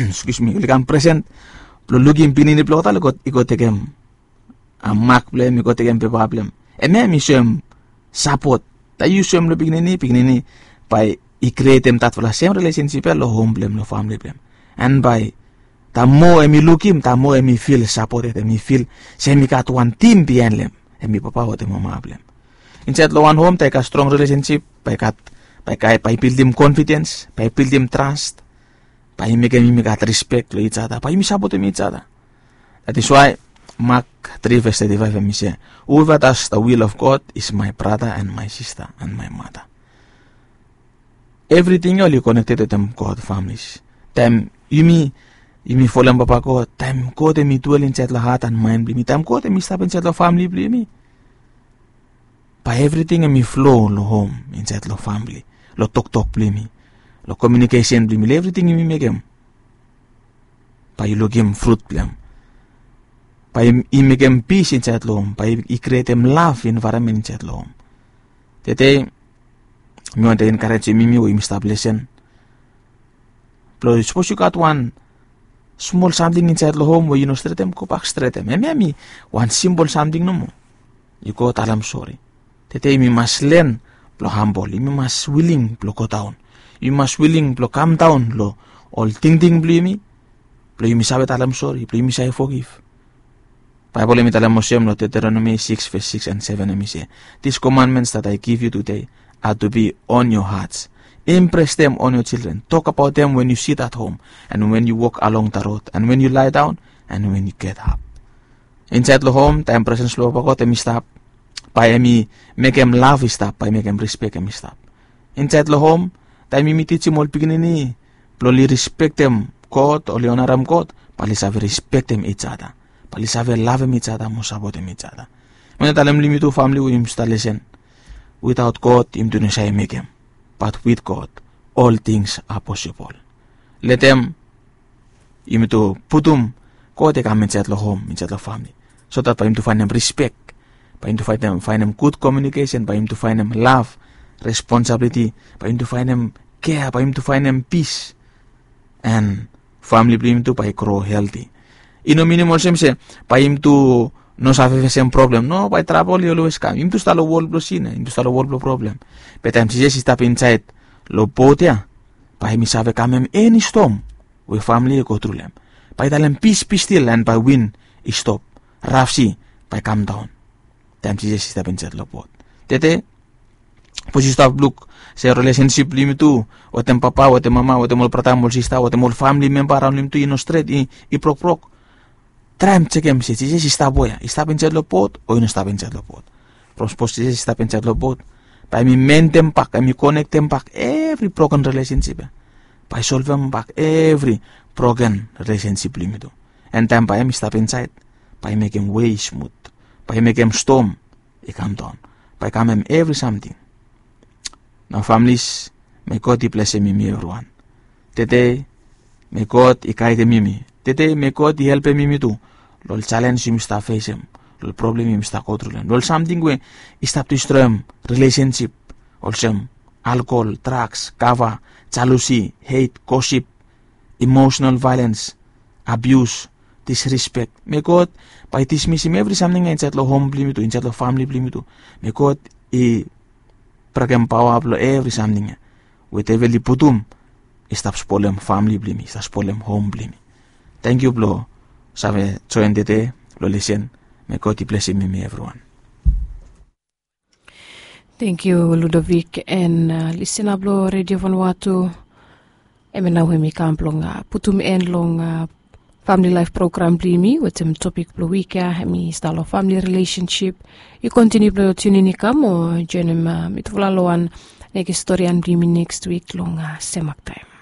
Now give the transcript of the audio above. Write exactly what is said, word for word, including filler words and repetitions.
Excuse me, oli kam present blong lukim pikinini blong olgeta i go tekem mak blong hem, i go tekem pepa blong hem. Hemia hemi soem sapot. Taem yu soem long pikinini, pikinini bae i krietem datfala sem relationship ya long hom blong hem, long famili blong hem. And bae taem moa hemi lukim, taem moa hemi fil sapoted, hemi fil se hemi gat wan tim biaen long hem, hemi papa wetem mama blong hem. Insaed long wan hom taem i gat strong relationship, bae i gat, bae i gat, bae i bildim confidence, bae i bildim trust, bae i mekem yumi gat respect long each other, bae yumi sapotem each other. That is why Mark three verse thirty-five hemi se, "Whoever does the will of God is my brother and my sister and my mother." Evriting ya oli connected wetem God families. Taem yumi, yumi folem Papa God, taem God hemi dwell insaed long hat and mind blong yumi, taem God hemi stap insaed long famili blong yumi, bae evriting hemi flow long hom, insaed long famili, long toktok blong yumi, long communication blong yumi, long evriting yumi mekem, bae yu lukim frut blong hem. Bae i mekem pis insaed long hom, bae i krietem lav environment insaed long hom. Tede mi wantem enkarejem yumi we yumi stap lesen blong, sapos yu gat wan smol samting insaed long hom we yu no stretem, gobak stretem. Hemia hemi wan simpol samting nomo. Yu go talem sori. Tede yumi mas len blong hambol, yumi mas wiling blong godaon, yumi mas wiling blong kamdaon long ol tingting blong yumi, blong yumi save talem sori, blong yumi save fogif. Baebol hemi talem olsem long Deuteronomy six verse six and seven, hemi se, "These commandments that I give you today are to be on your hearts. Impress them on your children. Talk about them when you sit at home and when you walk along the road and when you lie down and when you get up." Insaed long hom, taem presens blong Papa God hemi stap, bae hemi mekem lav i stap, bae mekem respek hemi stap. Insaed long hom, taem yumi tijim ol pikinini blong oli respektem God, oli onarem God, bae oli save respektem each other, bae oli save lavem each other mo sapotem each other. Mi wantem talem long yumi tu famili we yumi stap lesen, without God yumi tu no save mekem, but with God all things are possible. Letem yumi tu putum God i kam insaed long hom, insaed long famili, so that bae yumi tu faenem respek, bae yumi tu faenem, faenem gud communication, bae yumi tu faenem lav, responsibility, bae yumi tu faenem kea, bae yumi tu faenem pis, and famili blong yumi tu bae i gro healthy. I no minim olsem se bae yumi tu no save fesem problem. No, bae trabol i olwes kam. Yumi tu stap long wol blong sin ya, yumi tu stap long wol blong problem. Be taem Jisas i stap insaed long bot ya, bae hemi save kamem eni stom we famili i go tru long hem. Bae i talem, "Peace, be still," and bae win i stop. Raf si bae kamdaon taem Jisas i stap insaed long bot. Tede, sapos yu stap luk se relationship blong yumi tu wetem papa, wetem mama, wetem ol brata mo ol sista, wetem ol famili memba araon long yumi tu i no stret, i, i brokbrok, traem jekem se Jisas i stap wea, i stap insaed long bot o i no stap insaed long bot. From sapos Jisas i stap insaed long bot, bae hemi mendem bak, hemi konektem bak evri broken relationship ya. Bae i solvem bak evri broken relationship blong yumi tu. And taem bae hemi stap insaed, bae i mekem wei smut, bae i mekem stom i kamdaon, bae i kamem evri samting. Nao familis, may God i blesem yumi evriwan. Tede, may God i gaedem yumi. Tede, may God i helpem yumi tu long ol jalenj yumi stap fesem, long ol problem yumi stap go tru long hem, long ol samting we i stap distroem relationship, olsem alkohol, drugs, kava, jealousy, hate, gossip, emotional violence, abuse, disrespect. May God bae i dismisim evri samting ya insaed long hom blong yumi tu, insaed long famili blong yumi tu. May God i brekem paoa blong evri samting ya we devil i putum i stap spolem famili blong yumi, i stap spolem hom blong yumi. Tangkiu blong save joen tede long lesen. May God i blesem yumi evriwan. Tangkiu Ludovic and, uh, lisena blong Redio Vanuatu. Hemia nao hemi kam blong, uh, putum en long, uh, famili laef program blong yumi wetem topik blong wik ya, hemi stap long famili relationship. Yu kontiniu blong tiunin i kam o joenem, uh, mitufala long wan nekis storian blong yumi nekis wik long, uh, sem mak taem.